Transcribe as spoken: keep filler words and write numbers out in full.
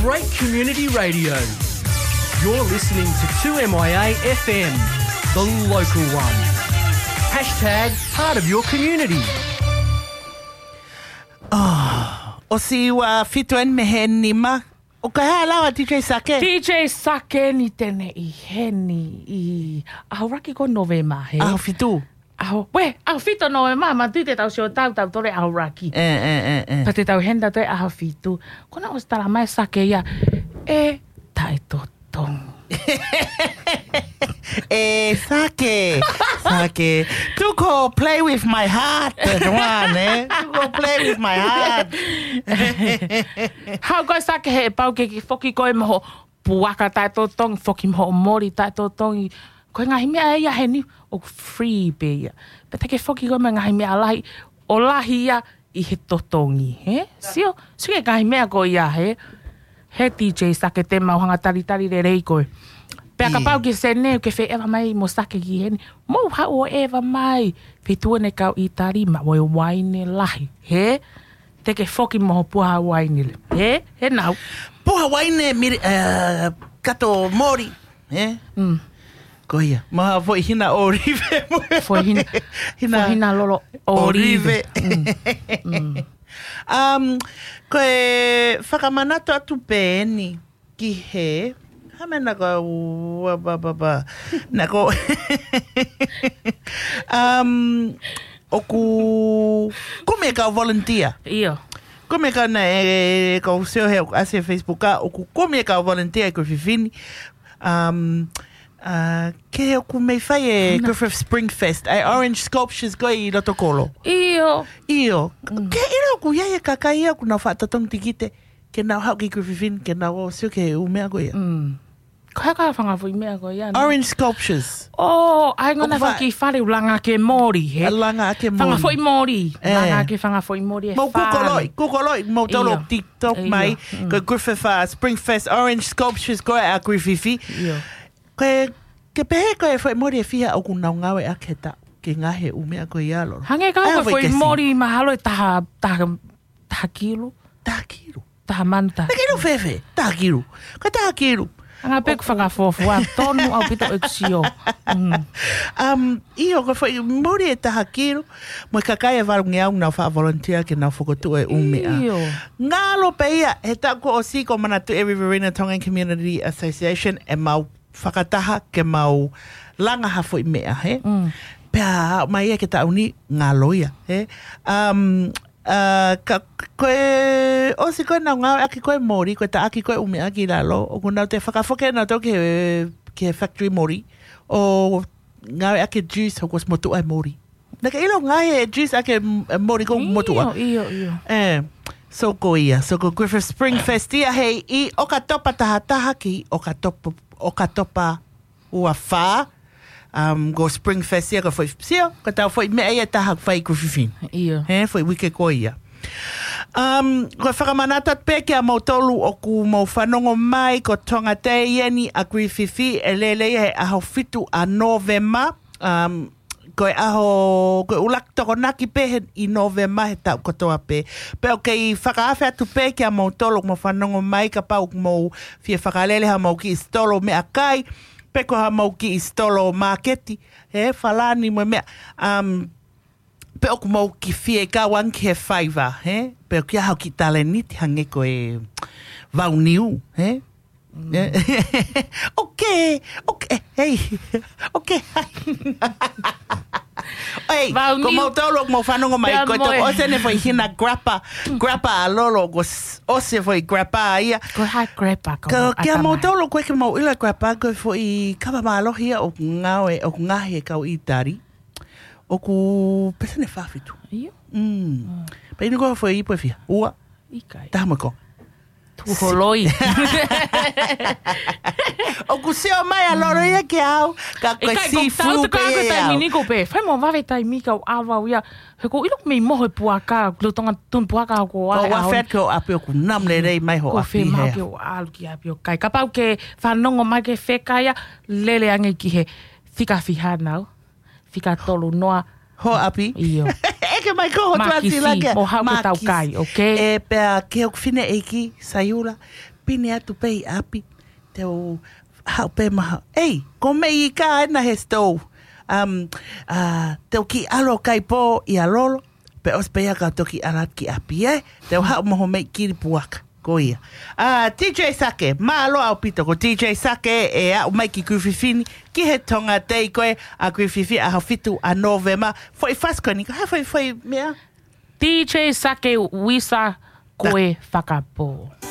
Great community radio. You're listening to two M I A F M, the local one. Hashtag part of your community. Oh, ʻosi ua fitu eni mei he nima. ʻOku ʻi ai lava D J Sake? D J Sake ni te ne ʻi heni ʻi ʻAhoraki ko Novema, he? ʻAho fitu. ʻAho, we, ʻaho fitu Novema, ma tui te tau sio tau, tau tole ʻAhoraki. E, e, e, e. Pea te tau heni tau toe ʻaho fitu. Ko ena ʻosi tala mai Sake ia, e, taʻetotongi. E, Sake, Sake. Tuko, play with my heart. One, eh? Tuko, play with my heart. Haʻu koe Sake he pau ke ke foki koe mo hoʻo puaka taʻetotongi, foki mo hoʻo moli taʻetotongi. Ko e ngaahi meʻa ia heni, ʻoku free pē ia. Pea te ke foki koe mo e ngaahi meʻa lahi, ʻo lahi ia ʻi he totongi, he? Sio, sio ki he ngaahi meʻa ko ia, he? He D J Sake te mau hanga talitali lelei koe. Pea kapau ke sene, ke fēʻeva mai mo Sake ki heni. Mou haʻu ʻo ʻeva mai. Feituʻu eni kau ʻItali, maʻu e uaine lahi, he? Te ke foki mo hoʻo puha uaine le. He? He nau. Puha uaine mili, eh, kato moli. Eh? Mm. Ko ia. Mo ha foʻi hina ʻōlive. Foʻi hina, hina foʻi hina lolo ʻōlive. ʻŌlive. Mm. Mm. Um, ko e fakamanatu atu pē eni ki he, ha meʻa naʻa ku, ba, ba, ba. Naʻa ku, um, ʻoku, kumi e kau volunteer. ʻIo. Kumi e kau na e, e, kau sio he ʻoku ʻasi he Facebook ʻa, ʻoku kumi e kau volunteer ʻi Griffith ni. Um, uh, ke ʻoku mei fai e Griffith Spring Fest, ʻa e orange sculptures ko ē ʻi loto kolo. ʻIo. ʻIo. Mm. Ke ʻilo ʻoku ʻi ai e kakai ia ʻoku nau faʻa totongi tikite, ke nau haʻu ki Griffith ni, ke nau ō sio ki he ʻū meʻa ko ia. Mm. Ko e hā e fanga foʻi meʻa ko ia, nā? Orange sculptures. ʻO, ʻa e ngana ʻoku fa- faki fale ʻoku langa ʻaki e moli, he? Langa ʻaki e moli. Fanga foʻi moli, e, langa ʻaki e fanga foʻi moli e fale. Mou kūkoloʻi, kūkoloʻi, mou tolo TikTok mai, ʻio. Mm. Ko e Griffith, uh, Spring Fest orange sculptures ko ē ʻa Griffith. ʻIo. Ko e, ke pehē ko e foʻi moli ʻe fiha ʻoku nau ngāueʻaki he taʻu, ke ngaahi ʻū meʻa ko ia lolo. Hangē ka ko e foʻi moli mahalo ʻe taha, taha, taha kilo. Taha kilo. Taha manu taha. Taha kilo fēfē, taha kilo. Ko e taha kilo. Anga pē ʻeku fakafuofua, tonu ʻaupito ʻeku sio. Mm. Um, ʻio, ko e foʻi moli ʻe taha kilo, mo e kakai ʻe valungeau nau faʻa volunteer ke nau fokotuʻu e ʻū meʻa. ʻIo. Ngalo pē ia, he taʻu kuo ʻosi ko e manatu e Riverina Tongan Community Association ʻemau fakataha ke mau langa ha foʻi meʻa, he? Mm. Pea mai ia ki he taʻu ni ngalo ia, he? Um, uh, ka, ko e ʻosi ko ē nau ngāueʻaki ko ē moli, ko e taʻaki ko ē ʻū meʻa ki lalo, ʻoku nau toe fakafoki ʻe nautolu ki he, ki he factory moli, ʻo ngāueʻaki e juice, ʻoku ʻosi motuʻa e moli. Naʻa ke ʻilo ngaahi e juice ʻaki e m-, e moli ko ē ʻoku motuʻa. ʻIo, ʻio, ʻio. E, so ko ia, so ko Griffith Spring Fest ia hei ʻi ʻOkatopa taha taha ki ʻOkatopa, ʻOkatopa ua fā. Um, ko Spring Fest ia ko e foʻi sio, ko ʻetau foʻi meʻa ia ʻe taha ʻoku fai ʻi Griffith ni. ʻIo. He, foʻi uike ko ia. Um, ko e fakamanatu atu pē kia moutolu ʻoku mou fanongo mai, ko Tonga Day eni ʻa Griffith ʻe lele ia he ʻaho fitu ʻa Novema. Um, ko e ʻaho, ko e ʻuluaki Tokonaki pē he ʻi Novema he taʻu kotoa pē. Pea ʻoku kei fakaafe atu pē kia moutolu ʻoku mou fanongo mai kapau ʻoku mou fie fakalele haʻamou kiʻi sitolo meʻakai, pe ko haʻamou kiʻi sitolo māketi, he falani mo e meʻa. Um, pe ʻoku mou kiʻi fie kau ange ki he faiva, he? Pe ʻoku ʻi ai haʻo kiʻi talēniti hangē ko e vau niu, he? Mm. ʻOkē, ʻokē, hei, ʻokē. Hei, vau niu. Ko moutolu ʻoku mou fanongo mai, pea ko e mo e toʻo ʻosi eni foʻi hina grappa, grappa ʻa Lolo, ko s-, ʻosi foʻi grappa ia. Ko e hā grappa, ko kia moutolu ʻoku ʻikai ke mou ʻilo grappa, ko e foʻi kava mālohi ia ʻoku ngāue, ʻoku ngaohi ʻe he kau ʻItali. ʻOku peseti ʻe fā fitu. ʻIo. Mm. Mm. Pea inu ko e foʻi ipu ʻe fiha. Ua. ʻIkai. Taha mo e konga. Tuku holoi. ʻOku sio mai ʻa Lolo ia kia au, ka ko e ʻikai, ko e sifu tau pē ka ko e ia taimi au. Ni ko pē. Fai mo vave taimi kau ʻava au ia. He ʻoku ou ʻilo ʻoku mei moho e puaka, lolotonga tonu puaka ko ʻo ʻai ʻo au. Fat ko ʻapi ʻoku nam lelei mai ho ʻapi he. Ko e fē mau ke ʻalu ki ʻapi ʻo kai. Kapau ke fanongo mai ke fē kai ia, lele ange ki he fika fiha nau. Fika tolu noa. Ho ʻapi? ʻIo. ʻEke Mai ko hotu Makisi, ati lagi. Mo hau ke tau kai, okay? E pea ke hoku fineʻeiki, Saiula, pine atu pē ʻi ʻapi. Te u haʻu pē maha. Ei, ko mei ka ena he stou. Um, uh, te u ki alo kai pō ʻi a lolo. Pe os pē ia ka toki alat ki ʻapi, e? Te u haʻu mo ho mei kiri puaka. Ko ia. A, D J Sake, mālō ʻaupito ko D J Sake e aʻu mai ki Kuififini, ki he Tonga Day ko ē ʻa Kuififi ʻaho fitu ʻa Nōvema, foʻi fasi ko eni, ko ha foʻi foʻi meʻa. D J Sake Wisa ko e fakapō.